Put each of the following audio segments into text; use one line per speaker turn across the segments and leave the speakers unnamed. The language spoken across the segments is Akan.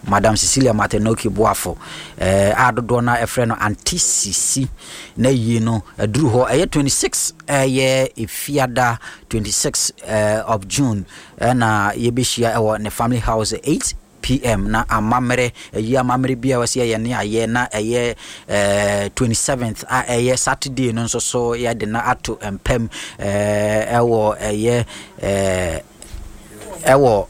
Madam Cecilia Matenoki Boafo eh, a dodoɔ no ɛfrɛ no Auntie Sisi na yie no aduru hɔ ɛyɛ 26 ɛyɛ Efiada 26 eh, of June ɛna yɛbɛhyia ɛwɔ ne family house 8 pm na amammerɛ ɛyi amammerɛ bi a wɔsi ɛyɛ ne ayɛ na ɛyɛ ɛɛ 27th a ɛyɛ Saturday no nso so yɛde na ato mpam ɛɛ ɛwɔ ɛyɛ ɛɛ ɛwɔ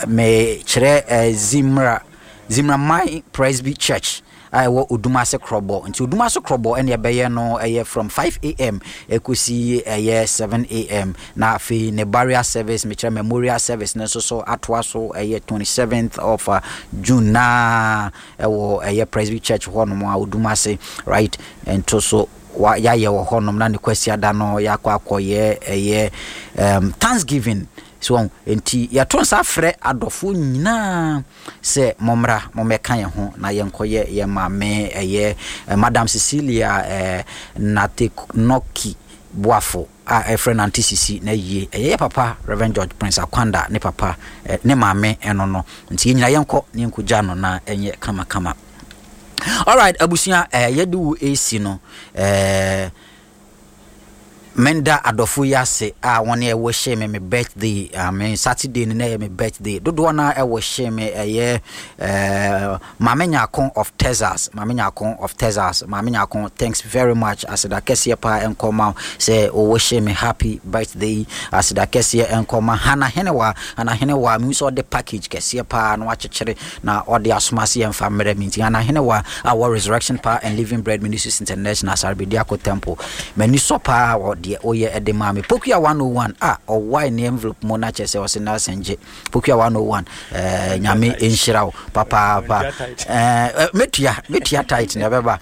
mekyerɛ ɛɛ Zimra Zimraman Presby Church a ɛwɔ Odumase Krɔbɔ. Nti Odumase Krɔbɔ ɛna ɛbɛyɛ no ɛyɛ from 5 am ɛkɔsi ɛyɛ 7 am. Na afei ne burial service, mekyerɛ memorial service no nso so atoa so ɛyɛ 27th of June na ɛwɔ ɛyɛ Presby Church hɔnom a Odumase, right? Nto so wa yɛayɛ wɔ hɔnom na ne Kwasiada no yɛakɔ akɔyɛ ɛyɛ Thanksgiving so. Nti yɛto nsa frɛ adɔfoɔ nyinaa sɛ mommra mommɛka yɛn ho na yɛnkɔyɛ yɛn maame ɛyɛ Madam Cecilia Nateknoki Boafo a ɛfrɛ no Auntie Sisi na yie. Ɛyɛ yɛ papa Reverend George Prince Akwanda ne papa ne maame ɛno no. Nti yɛn nyinaa yɛnkɔ na yɛnkɔgya no na ɛnyɛ kamakama. Alright, abusua, yɛde wo esi no, menda adɔfo yi ase a wɔn ɛwɔ hyɛ me me birthday. I mean, Saturday no na ɛyɛ me birthday. Dodoɔ no ɛwɔ hyɛ me ɛyɛ Maame Nyako of Texas, Maame Nyako of Texas. Maame Nyako, thanks very much. Aseda kɛseɛ paa ɛnkɔ ma sɛ wɔwɔ hyɛ me happy birthday. Aseda kɛseɛ ɛnkɔ ma Hana Henewa. Hana Henewa, mehu sɛ ɔde package kɛseɛ paa na wakyekyere na ɔde asoma ase yɛmfa mmerɛ me. Nti Hana Henewa a wɔ Resurrection Power and Living Bread Ministries International, Asarbediako Temple, m'ani sɔ paa wɔ deɛ woyɛ ɛde maa me. Pokua 101 a ɔwae ne envelope mu na kyerɛ sɛ ɔse Nelson gye. Pokua 101, Nyame nhyira wo papaapa. Mɛtua tight na ɛbɛba.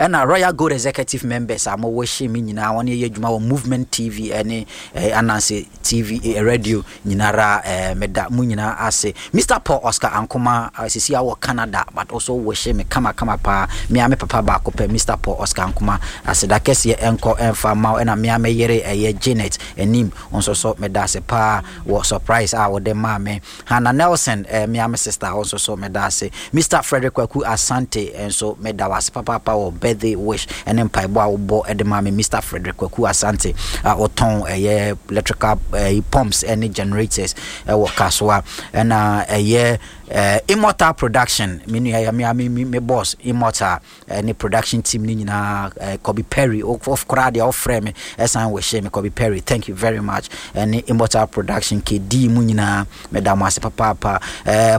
Ɛna Royal Gold Executive members a mowɔ hyɛ me nyinaa, wɔne ɛyɛ adwuma wɔ Movement TV ɛne Ananse TV, radio nyinara, meda mo nyinaa ase. Mr Paul Oscar Ankoma, sisi a wɔ Canada but also wɔ hyɛ me kama kama paa. Mea me papa baako pɛ, Mr Paul Oscar Ankoma, aseda kɛseɛ ɛnkɔ ɛmfa ma wo. Ɛna mea me yere ɛyɛ Janet Anim nso so, meda ase paa wɔ surprise a wɔde maa me. Hannah Nelson, mea me sister nso so, meda ase. Mr Frederick Kwaku Asante nso, meda wo ase papaapa wɔ birthday wish ɛne mpaebɔ a wobɔ ɛde maa me. Mr Frederick Kwaku Asante a ɔtɔn ɛyɛ electrical pumps ɛne generators ɛwɔ Kasoa. Ɛna ɛyɛ Immortal Production, me nua yɛ me me me boss Immortal ne production team ne nyinaa, Kobe Perry of koraa deɛ ɔfrɛ me ɛsan wɔ hyɛ me. Kobe Perry, thank you very much. Ɛne Immortal Production KD mu nyinaa, meda mo ase papaapa.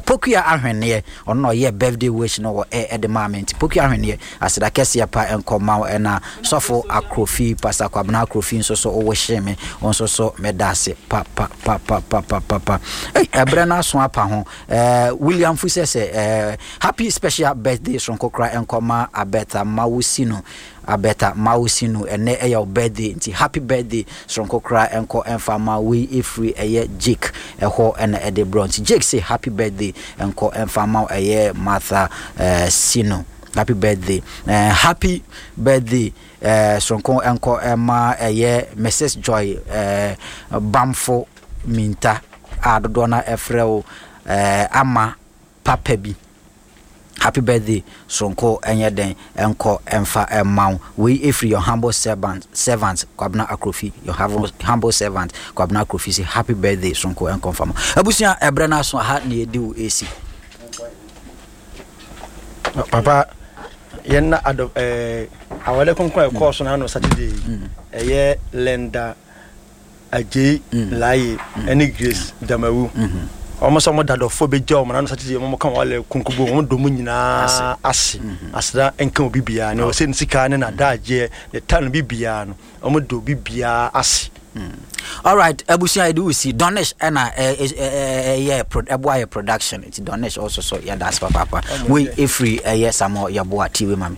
Pokua Ahwenneɛ, ɔno na ɔyɛ birthday wish no wɔ ɛde maa me. Nti Pokua Ahwenneɛ, aseda kɛseɛ pa nkɔ ma wo. Ɛna Sɔfo Akrofi, Pastor Kwabena Akrofi nso so, ɔwɔ hyɛ me nso so, meda ase pa pa pa pa pa pa pa pa. Ɛbrɛ no aso apa ho. William Fusɛ sɛ happy special birthday soronko kora nkɔma Abetha Mawusinu. Abetha Mawusinu, ɛnɛ ɛyɛ wo birthday, nti happy birthday soronko kora nkɔ ɛmfa ma wei. Ɛfiri ɛyɛ Jake ɛhɔ ɛna ɛde brɔ. Nti Jake say happy birthday nkɔ ɛmfa ma ɛyɛ Martha Sino, happy birthday. Happy birthday soronko nkɔ ɛma ɛyɛ Mrs Joy Bamfo Minta a dodoɔ no ɛfrɛ wo Ama Papa bi. Happy birthday soronko ɛnyɛ den ɛnkɔ ɛmfa ɛma wo. Wei ɛfiri your humble servant Kwabena Akrofi. Your humble servant Kwabena Akrofi say happy birthday soronko ɛnkɔ mfa ma. Abusua, ɛbrɛ no aso aha na yɛdi wo ɛsi.
Papa, yɛn na adɔ awale kronkron a ɛkɔɔ so n'ano Saturday yi, ɛyɛ Linda Agyei Laye ɛne Grace Damawu. Wɔn sɛ wɔn dadɔfoɔ bɛgya wɔn n'ano Saturday, wɔn ka wɔn awale konkobo, wɔn dɔ mu nyinaa ase. Aseda nka obi biara ne ɔsɛ ne sika ne n'adagyeɛ ne ta no bi biara no, wɔn dɔ obi biara ase.
Alright, abusua, yɛde wo si Donish ɛna ɛyɛ ɛboa yɛ production. Nti Donish also so yɛda ase papaapa. Wei ɛfiri ɛyɛ Samuel Yɛboa TV ma me.